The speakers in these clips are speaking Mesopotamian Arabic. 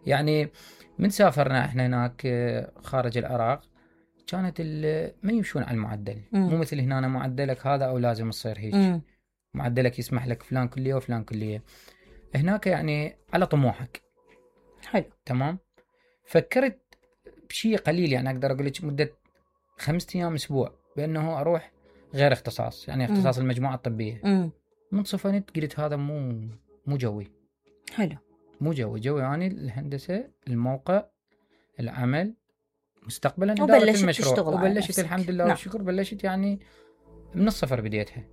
يعني من سافرنا احنا هناك خارج العراق كانت ما يمشون على المعدل. مو مثل هنا معدلك هذا او لازم تصير هيك. معدلك يسمح لك فلان كلية وفلان كلية. هناك يعني على طموحك. حلو. تمام. فكرت بشيء قليل، يعني اقدر اقول لك مدة 5 ايام اسبوع بانه اروح غير اختصاص، يعني اختصاص المجموعة الطبية. من صفنت قلت هذا مو جوي. حلو. مو جوي يعني الهندسة، الموقع، العمل، مستقبلا إدارة المشروع. وبلشت الحمد لله والشكر بلشت يعني من الصفر بديتها.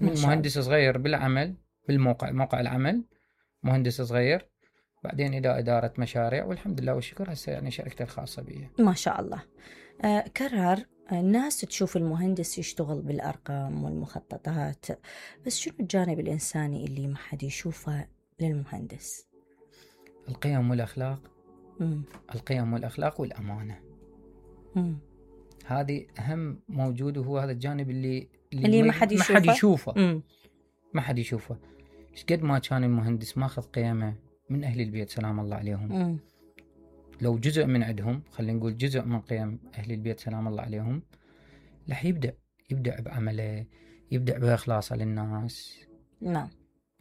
من مهندس صغير بالعمل موقع العمل، مهندس صغير، بعدين إلى إدارة مشاريع، والحمد لله والشكر هسه يعني شركتي الخاصة بي. ما شاء الله. كرر الناس تشوف المهندس يشتغل بالأرقام والمخططات، بس شنو الجانب الإنساني اللي ما حد يشوفه للمهندس؟ القيم والأخلاق. القيم والأخلاق والأمانة. هذه أهم موجود، وهو هذا الجانب اللي ما حد يشوفه. ما حد يشوفه. قد ما كان المهندس ماخذ قيمه من أهل البيت سلام الله عليهم. لو جزء من عندهم، خلينا نقول جزء من قيم أهل البيت سلام الله عليهم، رح يبدع بعمله، يبدع بإخلاصه للناس. نعم.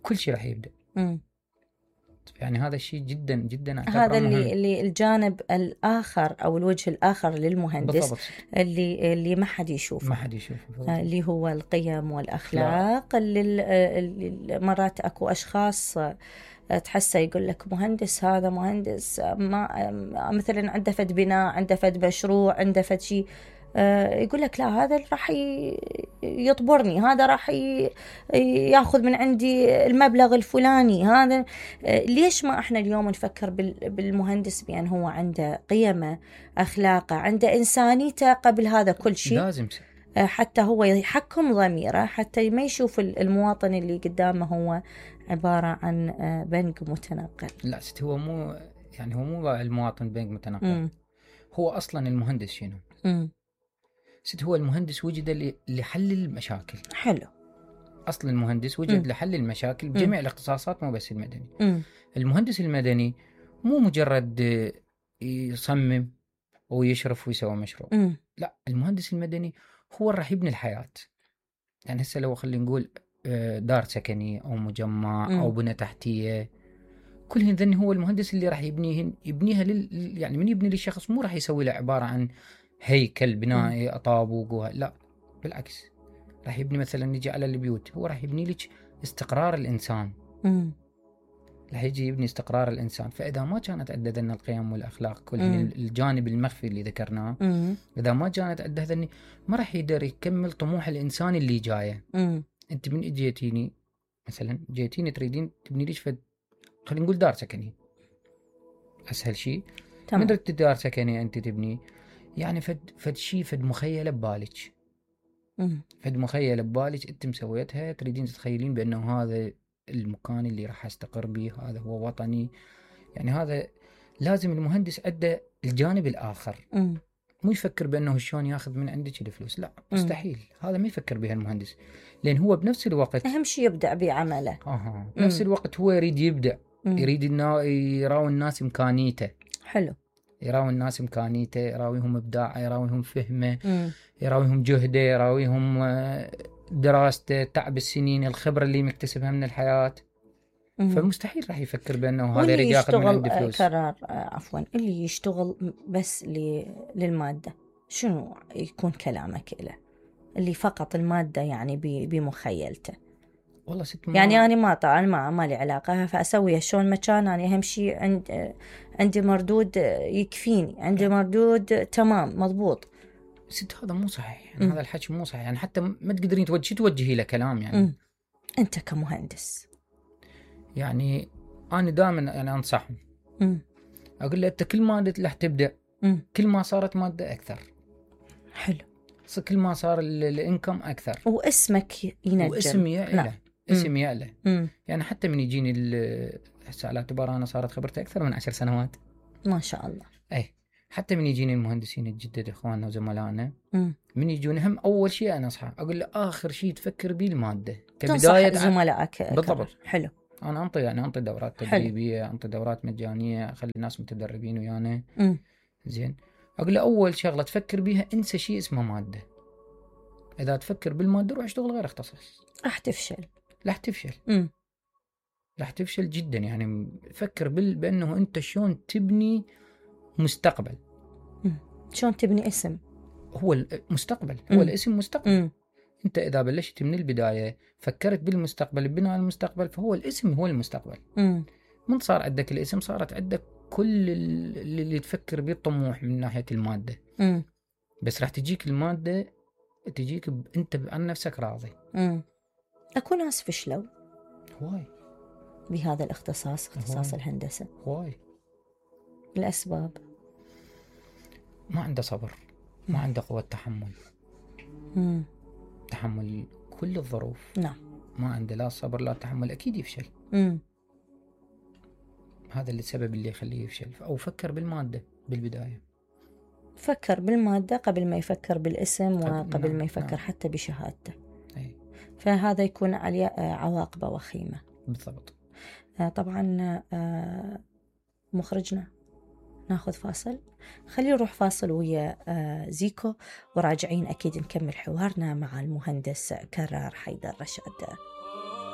كل شيء رح يبدع. يعني هذا الشيء جدا جدا هذا اللي الجانب الآخر أو الوجه الآخر للمهندس. بالضبط. اللي ما حد يشوفه. اللي هو القيم والأخلاق. اللي مرات أكو أشخاص تحسه يقول لك مهندس، هذا مهندس ما مثلا عنده فد بناء، عنده فد مشروع، عنده فد شيء، يقول لك لا هذا راح يطبرني، هذا راح ياخذ من عندي المبلغ الفلاني. هذا ليش ما احنا اليوم نفكر بالمهندس بأن هو عنده قيمه، أخلاقه، عنده إنسانيته قبل هذا كل شيء. لازم حتى هو يحكم ضميره، حتى ما يشوف المواطن اللي قدامه هو عبارة عن بنك متنقل. لا هو مو المواطن بنك متنقل. هو أصلا المهندس شنو؟ هو المهندس وجد لحل المشاكل. حلو. أصل المهندس وجد لحل المشاكل بجميع الاختصاصات، مو بس المدني. المهندس المدني مو مجرد يصمم ويشرف ويسوي مشروع. لا، المهندس المدني هو اللي راح يبني الحياة. يعني هسه لو خلينا نقول دار سكنية أو مجمع أو بنى تحتية، كل هذن هو المهندس اللي راح يبنيها يعني من يبني للشخص، مو راح يسوي له عبارة عن هيكل بنائي أطابق لا، بالعكس راح يبني مثلا نجي على البيوت، هو راح يبني لك استقرار الإنسان. راح يجي يبني استقرار الإنسان. فإذا ما كانت عندنا القيم والأخلاق كل الجانب المخفي اللي ذكرناه، إذا ما كانت عندنا ما راح يقدر يكمل طموح الإنسان اللي جايه. أنت من جيتيني مثلا، تريدين تبني ليش خلينا نقول دار سكنية، أسهل شيء. من درت دار سكنية أنت تبني، يعني فد شيء، فد مخيلة ببالك. فد مخيلة ببالك أنت مسويتها، تريدين تتخيلين بأنه هذا المكان اللي راح استقر به، هذا هو وطني. يعني هذا لازم المهندس عنده الجانب الآخر. مو يفكر بأنه شلون ياخذ من عندك الفلوس، لا مستحيل. هذا ما يفكر به المهندس، لأن هو بنفس الوقت أهم شيء يبدع بعمله. بنفس الوقت هو يريد يبدع. يريد يراوي الناس إمكانيته. حلو. يراوي الناس إمكانيته، يراويهم إبداعه، يراويهم فهمه، يراويهم جهده، يراويهم دراسته، تعب السنين، الخبرة اللي مكتسبها من الحياة. فمستحيل راح يفكر بأنه هذا يريد ياخذ من عنده فلوس. اللي يشتغل بس للمادة، شنو يكون كلامك له؟ اللي فقط المادة يعني بمخيلته. والله يعني أنا ما لي علاقة، فأسوي شلون مكان. أنا أهم شيء عندي مردود يكفيني، عندي مردود تمام مضبوط. هذا مو صحيح. يعني هذا الحكي مو صحيح. يعني حتى ما تقدرين توجهي له كلام. يعني أنت كمهندس، يعني أنا دائما يعني أنصحهم، أقول له أنت كل ما راح تبدأ، كل ما صارت مادة أكثر. حلو. كل ما صار الإنكم أكثر، واسمك ينجم، واسم يعلى. اسم يعلى. يعني حتى من يجيني هسه على اعتبار أنا صارت خبرتي أكثر من 10 سنوات ما شاء الله. حتى من يجيني المهندسين الجدد إخواننا وزملائنا، من يجون هم أول شيء أنا أصحى أقول له آخر شيء تفكر به المادة كبداية زملائك. بالضبط. حلو. انا انطي دورات تدريبيه، انطي دورات مجانيه، اخلي الناس متدربين ويانا. زين، اقول له اول شغله تفكر بيها انسى شيء اسمه ماده. اذا تفكر بالماده روح اشتغل غير اختصاص، راح تفشل. راح تفشل جدا. يعني فكر بانه انت شلون تبني مستقبل. شلون تبني اسم؟ هو المستقبل، هو الاسم مستقبل. انت اذا بلشت من البدايه فكرت بالمستقبل، ببناء المستقبل، فهو الاسم هو المستقبل. من صار عندك الاسم صارت عندك كل اللي تفكر به الطموح من ناحيه الماده. بس راح تجيك الماده تجيك انت عن نفسك راضي. اكو ناس فشلوا هواي بهذا الاختصاص، اختصاص الهندسه. هواي. الاسباب ما عنده صبر، ما عنده قوه تحمل. تحمل كل الظروف. نعم. ما عنده لا صبر لا تحمل، اكيد يفشل. هذا السبب اللي يخليه يفشل. او فكر بالماده بالبدايه، فكر بالماده قبل ما يفكر بالاسم وقبل ما يفكر حتى بشهادته. فهذا يكون عليه عواقبه وخيمه. بالضبط. طبعا مخرجنا ناخذ فاصل، خلينا نروح فاصل ويا زيكو، وراجعين أكيد نكمل حوارنا مع المهندس كرار حيدر رشاد.